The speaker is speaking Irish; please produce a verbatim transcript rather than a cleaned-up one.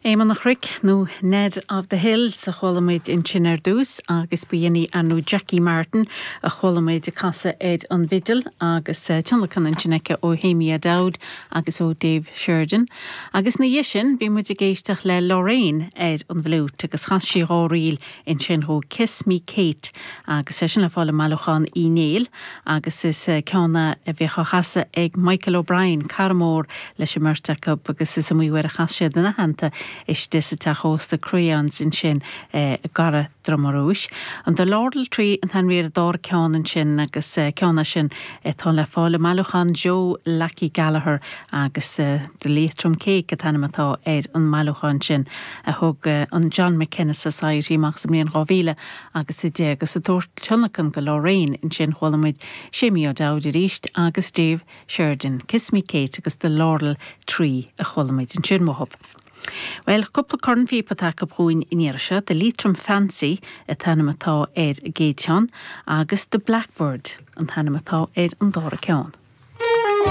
Éamonn an Chnoic nó Ned of the Hills a chuala muid ansin ar dtús agus b'in í ar ndóigh Jackie Martin a chuala muid ag casadh ar an bhfidil agus eh, tionlacan ansin aici ó Shéimí O'Dowd agus ó Dave Sheridan. Agus ina dhiaidh sin bhí muid ag éisteacht le Lorraine ar an bhfliúit agus chas sí dhá ríl ansin ó Kiss Me Kate agus é sin le fáil i mbailiúchán Uí Néill agus is eh, ceann a bhí á chasadh ag Michael O'Brien cara mór leis an mbeirt acu agus is iomaí uair a chas siad ina theannta istigh sa teach ósta Crayons ansin eh, gar Droma Rúis. An The Laurel Tree an t-ainm ar an dara ceann ansin agus eh, ceann sin atá le fáil i mbailiúchán Joe Lackey Gallagher agus uh, The Leitrim Cake an t-ainm atá ar an mbailiúchán sin a thug uh, an John McKenna Society amach sa mbliain dhá mhíle agus a deich agus ag tabhairt tionlacan do Lorraine ansin chuala muid Séimí O'Dowd arís agus Dave Sheridan, Kiss Me Kate agus The Laurel Tree a chuala muid ansin uathub. Well cúpla cornphíopa atá chugainn an iarraidh seo, The Leitrim Fancy an t-ainm atá ar an gcéad cheann agus The Blackbird an t-ainm atá ar an dara ceann.